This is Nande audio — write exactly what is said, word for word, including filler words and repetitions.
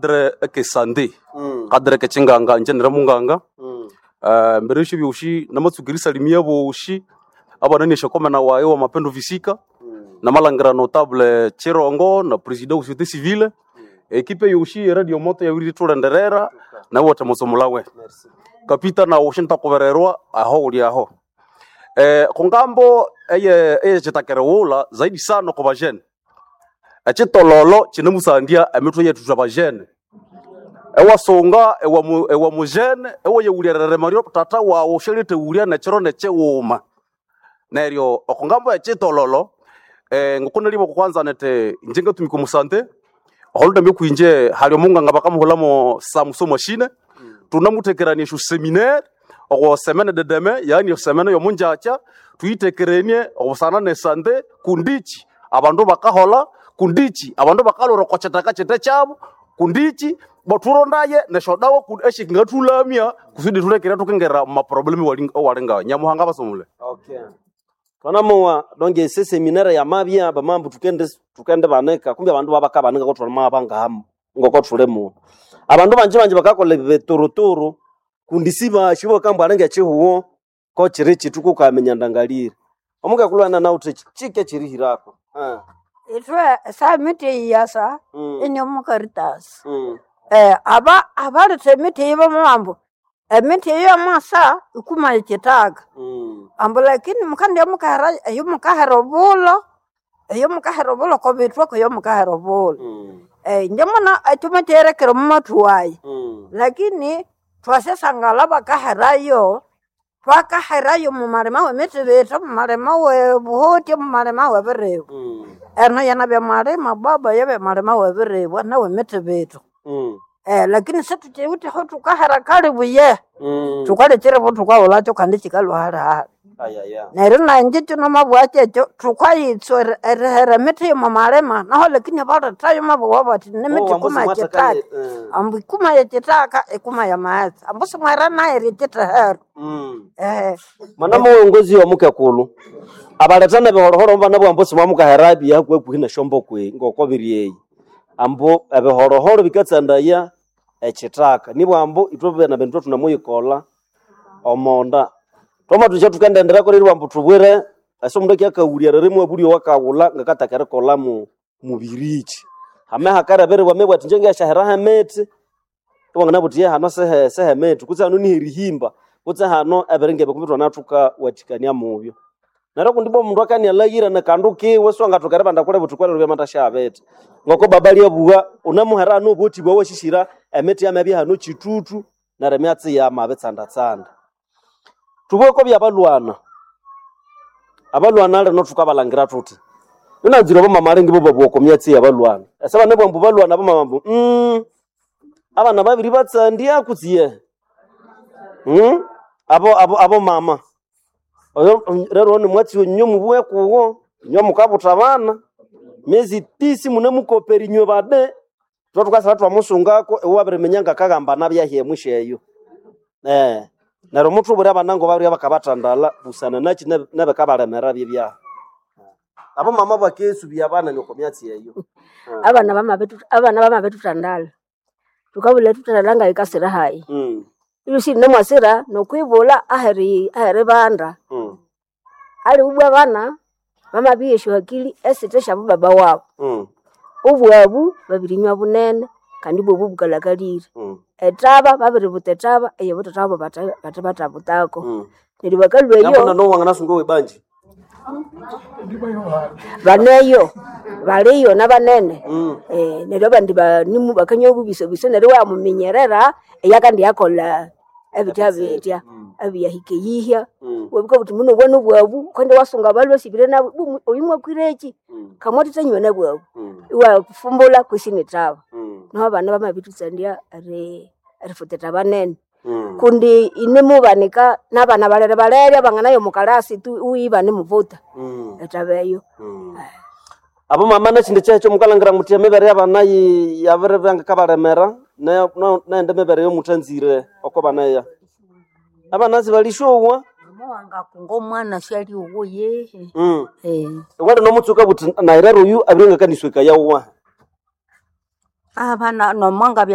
cadre eke santé Mm. cadre ke chinganga nje nire munganga Mm. uh, mbere esyo byoshi namatsukira isalimia boshi abana neshakomena wayo wa mapendo visika Mm. namalangira notable Chirongo na president wa société civile ekipe yoshi e radio moto yabiri tulenderera nawe wote musomulawe Merci. kapita na ushintakubererwa aho uli aho eh, kungambo eye eye chitakerewula zaidi sana ku bajene echitololo chinemusandia emitwe yetu twa bajene ewasunga ewa mu- ewa mujene ewayewulyerere mario tata wawu shelitewulya nechiro nechiwuma neryo okungambo echitololo eh, ngukunelibo kwanza nete inje ngatumika omusante oholundambi kwinje hali omunganga bakamuhulamo samuso mashine tunamutekerania esyo seminaire oko semene de deme yaani semene yomunjacha tuyitekerenie obusana ne sante kundichi abandu bakahola kundichi abandu bakalora oko kyitaka kyite kyabo kundichi baturondaye nesyodawa ku- eshingathulamya kusudi thulekere tukingera mumaproblemu owalingayo nyamuhanga basomule Okay. Twanamuwa donge ese seminari ya mabya bamambu tukende tukende baneka kumbe abandu babakabanika kotwalima bangahamu ngoko thulemu. Abandu banje banje bakakola bituruturu kundi siba shibo kambwa alenge chihuwo ko chiri chitu kukamenya ndangalire. Omuka kulwana nawu chike chiri hirako. Ah. Ithwe samiti iyasa Mm. ini omukaritasi Mm. eh, aba abaletha emiti eyi bamambu emiti eyo yamasa ikuma ekitaka Mm. ambu lakini mukandya mukahera eyo mukahera obulo eyo mukahera obulo kobithwako eyo mukahera obulo Mm. eh, inje muna ekyuma kyerekere omumathu wayi Mm. lakini twasesangala bakaherayo twakaherayo mumalima wemiti bithi mumalima webuhuti mumalima webiribu Mm. eno yena byamalima baba yebyamalima webiribwa nawe miti bitu Mm. eh, lakini situkiwutheho tukahera kalibuye Mm. tukalekyerevo tukawulakyo kandi kikalwa halihali Ayaya. neryo nanje kino kyekyo tukayitswa eri- erihera emiti yomumalima naho lakini balethayo mabuwa bati nemiti Oh, ikuma ambu ekitaka simwathakale. Eh. ambu ikuma yekitaka ikuma yamaghetse ambu simwera nayo ekithehero Mm. ehe Mwana muwongozi wa mukekulu abaletana ebihorohoro mbana bwambo simwamukahera byahakuhakuhi neshombo kwe ngoko biri eyi ambu ebihorohoro bikatsandaya ekitaka nibwambu ithwe bena bindu thunamuyikolha omonda twamathusya thukendenderako reri bwambu thubwire ase omundu akyakawulya rere mwabulya owakawulha ngakataka erikolha mu mubiriki hame hakareberibwa mebwa ati inje ngesyaheraho emithi iwanganabuthi ye hano sehe sehemithi kutse hano niherihimba kutse hano ebiringa ebi kumbi thwanathukawathikania mubyo neryo kundi bwa omundu akanialhaghira nakandu kiwe siwangathoka eribanda kule buthi kwalero byamathasyabithi ngoko baba lyabugha unamuhera hano obuthi bwawashishira emithi yamabya hano kitutu neryo emyatsi yamabitsandatsanda thubweko byabalwana abalwana lino thukabalangira thuthi inanzire abamama alingi bo babugha oko myatsi yabalwana ese bane bwambu balwana abamama ambu mm, abana babiri batsandya kutsi mm? abo abo abo mama oyo mm, rero ni mwatsi wenyu mubwe kuwo inywe mukabutha abana miezi tisi mune mukopera inywe bade thwa thukasaba twamusungako iwe wabiriminya ngakagamba nabyahi emwisho eyo eh neryo muthubwire abana ngo babirya bakabathandala busana naki nebe- nebikabalemera byebyaha abo mama bakesubya abana nyoko myatsi eyo abana bamabitu abana bamabithuthandala thukabulha thuthandala ngayikasira hayi mm. ilusi nemwasira nokwibulha aheri aheri banda mm. ali ubwa abana bamabihya esyohakili esithe syabu baba wabu mm. obwabu babirinywa bunene kandi bwobu bukalakalire mm. etaba babiributa etaba eyo butata wabo bate bate batabutako mm. neryo bakalhwa nabona eyo nowanganasunga webanji baneyo baliyo nabanene mm. Eh, neryo abandi banimu bakanywa obubisobiso neryo wamuminyerera eyakandi yakolha ebitya bitya ebiyahika eyihya Mm. wabika buthi muno obwana obwabu kandi wasunga abalwa sibire nabo bu- oyu mwakwireki Mm. kamwatitanywa nabwabu Mm. iwafumbula kwisi nitaba Mm. niho abana bamabithutsandia eri erifutita banene Mm. kundi inemubanika nabana balere balere abanganayo mukalasi tu uyiba nimuvuta Mm. etaba eyo Mm. abo mama nekindi kyekyo mukalangira muthi emibere yabana yi- yabiribya kabalemera ne- no- nende emibere yomuthanzire oko baneya abana sibalisyowa Mama omwana syali uwo yehe mm. eh wali nomutsuka buthi nairero oyu abiri ngakanisweka yawuwa abana nomwanga